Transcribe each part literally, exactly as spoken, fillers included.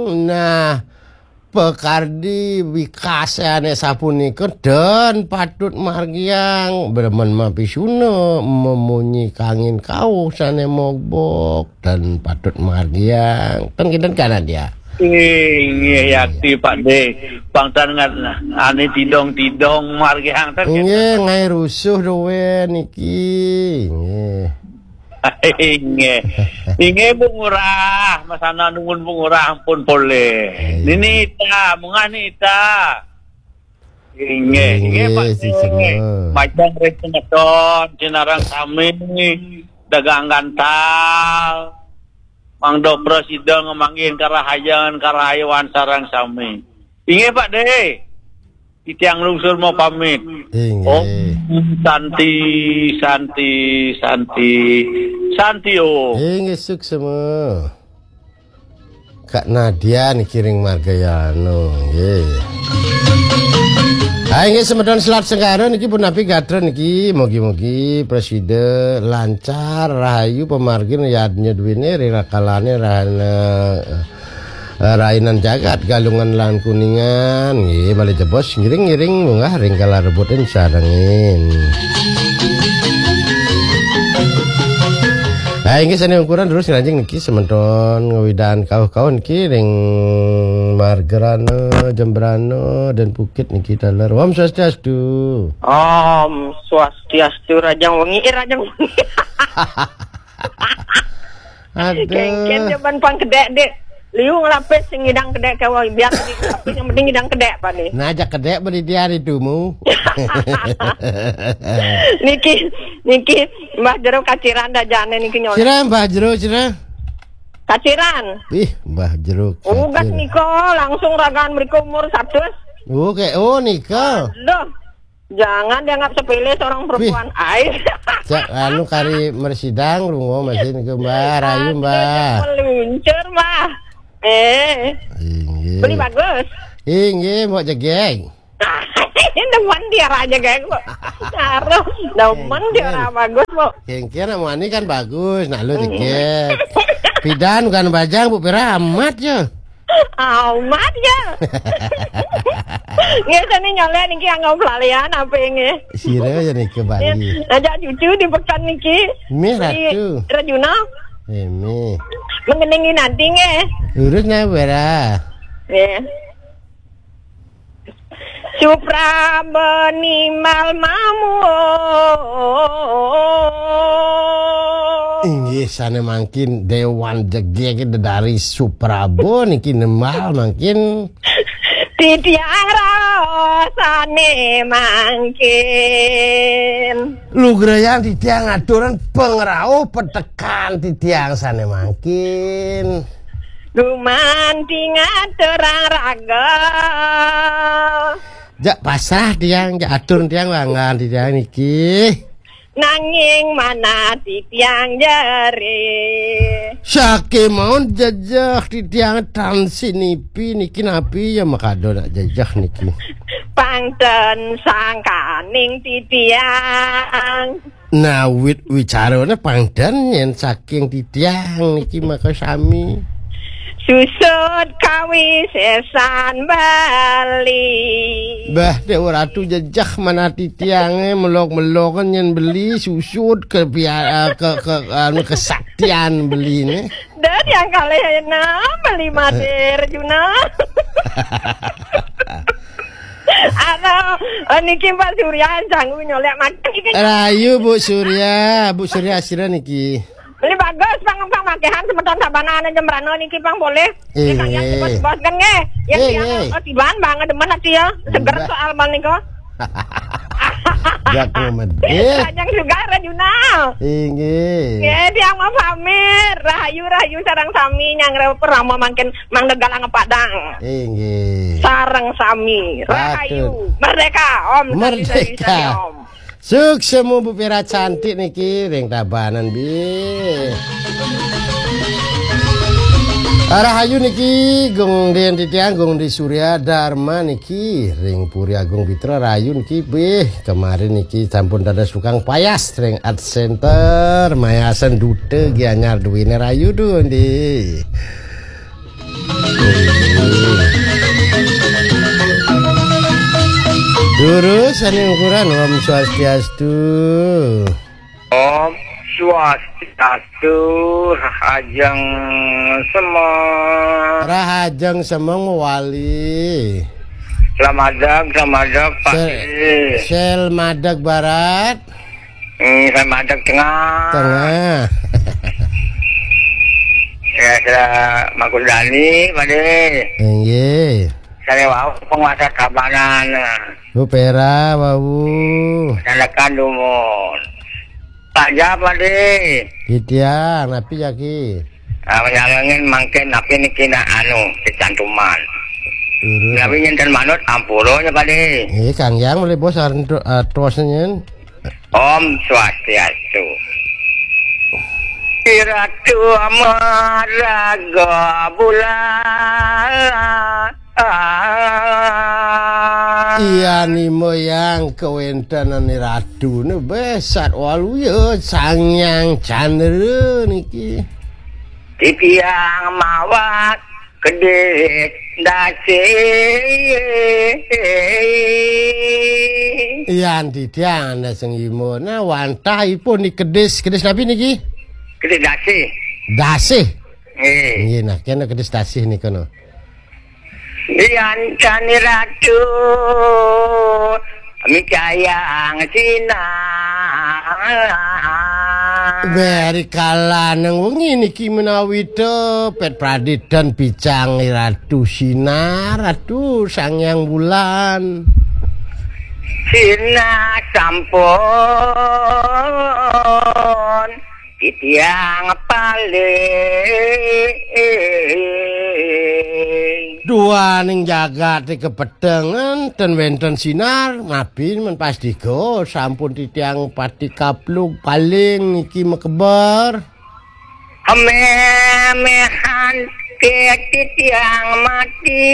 Nah, pekardi wikasé ané sapunika den patut margiang, bremen mapisuna, memunyi kangin kauh sané mogbog, den patut margiang. Ten kinten kana dia. Inggih, yakti, Pak De. Pang tan ngat-, ané tidong-tidong margiang ten. Inggih, kinten. Ngai rusuh duwé niki. Inggih. Inggih. Inggih, Bu Ngurah, masana nuwun Bu Ngurah ampun polih. Ayo. Nini Ita, munggah Nini Ita. Inggih, inggih, Pak. Inggih, sisena. Majeng ring semeton, sinareng sami, dagang gantal. Mangda prasida ngamanggihin karahayan, karahayuan sareng sami. Inggih, Pak De. Titiang lungsur mau pamit. Inggih. Om Santi, Santi, Santi, Santi Om. Inggih, suksema. Kak Nadia niki ring Margayana, nggih. Ha, inggih, semeton Selat Segara niki punapi gatra niki, mugi-mugi prasida lancar, rahayu, pamargin yadnya duwine, ring rakalané rahana, eh, rainan jagat, Galungan lan Kuningan, nggih, malih jebos ngiring-ngiring munggah ring kala rebutin sarengin. Ha, inggih, sané ungkuran terus ngranjing niki semeton ngawedang kauh-kauh niki ring Margarana, Jembrana, dan Bukit niki taler. Om Swastiastu. Om Swastiastu, Rajang Wengi, eh, Rajang Wengi. Aduh. Kéngkén jaban pang kedék, Dik. Liu ngelapis sing ngidang kedék kéwala, biar di ngelapis, yang penting ngidang kedék, Pak, nih. Nah, ajak kedék berdiri hari tumu. Niki, niki, Mbah Jero kaciran dah jane niki nyolek. Sira, Mbah Jero, sira. Kaciran. Ih, Mbah Jero. Ugas kaciran. Nika langsung ragaan mriko umur satus. Oh, kayak, oh, nika. Aduh. Jangan dianggap sepele seorang perempuan. Ai. Cak, anu kari mersidang, lunga masih niki, Mbah, rayu, Mbah. Meluncur, Mbah. Eh. Inggih. Beli bagus. Inggih, mau jegeg. Demen dia raja geng, Bu. Taruh, demen dia orang bagus, Bu. Kengkir nak mani kan bagus, nak lu dikit. Pidan bukan bajang, Bu, pira amat ya. Amat ya. Nggih, seni nyolek niki anggo pelalian apa nggih? Sira ya niki Bali. Ajak cucu di pekan niki. Mih, Ratu. Rajuna. Eh, mih. Mengenangi nanti nggih. Lurus nggih, Bera. Nggih. Suprabeni mal mamu. Inggih, sane mangkin Dewan Jegege dedari Suprabo niki nembal mangkin. Titiang raosane mangkin. Lugrayan titiang aturan pangrauh petekan titiang sane mangkin. Gumanti ngaturang raga. Jak pasrah tiang, jak atur tiang, langgan tiang niki. Nanging manah titiang jere. Sake maun jejeh titiang tan sinipi niki napi ya makado nak jejeh niki. Pangten sangkaning titiang. Nawit wicarane pangden yen saking titiang niki maka sami. Susut kawisesan Bali. Mbah, Dewa Ratu jejeh manah titiange melok-meloken yen beli susut ke pia-, ke, ke, anu, kesaktian beline. Dah yang kalih enak beli madir Juna. Aduh, eh, niki Pak Surya sanggup nyolek makan niki. Rayu, Bu Surya, Bu Surya sira niki. Beli bagus, Bang, Bang, makehan semeton sabana ana jembrana niki, Bang, boleh. Iya. Niki kalian bos-bos kan nggih. Ya, iya, tiang, iya. Oh, tiban, Bang, demen ati ya. Seger soal Bang nika. Jak medit. Panjang juga Rajuna. Inggih. Nggih, tiang mau pamit. Rahayu, rahayu sareng sami nyang rew perama mangkin Mang Negala ngepadang. Inggih. Sareng sami. Rahayu. Patut. Merdeka, Om. Merdeka. Sukses, Om. Suksemu Bu Pira cantik niki ring Tabanan, bi. Rahayu niki Gung Den titiang, Gung Di Surya Dharma niki ring Puri Agung Pitra rayu niki, bih, kemarin niki sampun dados tukang payas ring Art Center, mayasan duta Gianyar duwene rayu tu, Ndi. Terus, sané ukuran, Om Swastiastu. Om Swastiastu, Rahajeng Semeng. Rahajeng Semeng mewali. Slamadeg, slamadeg, Pak Sel-, Dé. Sel madeg barat. Hmm, slamadeg tengah. Tengah. Ya, saya Markus Dani, Pak Dé. Inggih. Saya wau penguasa Tabanan. Bu Pera, wau. Sanakan dumun. Pak Ja, Pak Dé. Titiang, napi jaki? Ah, nyalengin mangkin napi niki nak anu, kecantuman. Lurus. Napi nyenten manut ampura nya, Pak Dé. Eh, Kang Yang boleh bos artu-, artosnya nyen. Om Swastiastu. Iratu Amaraga Bulan. Iya, nima yang kawéntenan Ratu né besat waluya Sang Hyang Candra niki. Titiang mawas kedis dasih. Yan titiang anda sengima. Nah, wantah ipun di kedis, kedis napi niki? Kedis dasih. Dasih. Nggih. Nggih, nah, kena kedis dasih nika, no. Yan Cani Ratu micayang sinar. Beri kala nang wengi niki menawi tepet praditen picang Ratu Sinar, Ratu Sang Hyang Bulan. Sinar sampun titiang paling. Duaning jagat kapetengan ten wénten sinar, mapi men pastika sampun titiang pati kaplug paling niki makeber. Memehan ke titiang mati.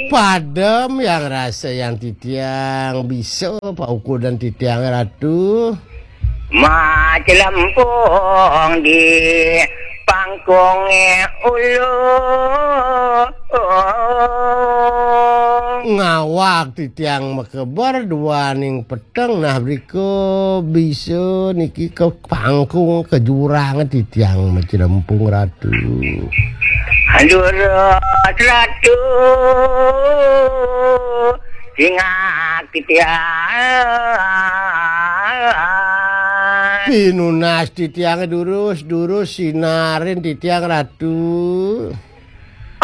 Padem yang rasa yang titiang bisa paukudan titiang Ratu. Macelempung di pangkunge ulu. Ngawak titiang makeber duaning peteng, nah, brika bisa niki ka pangkung, ka jurang titiang macelempung Ratu. Durus Ratu, singak titiang. Pinunas titiang durus, durus sinarin titiang Ratu.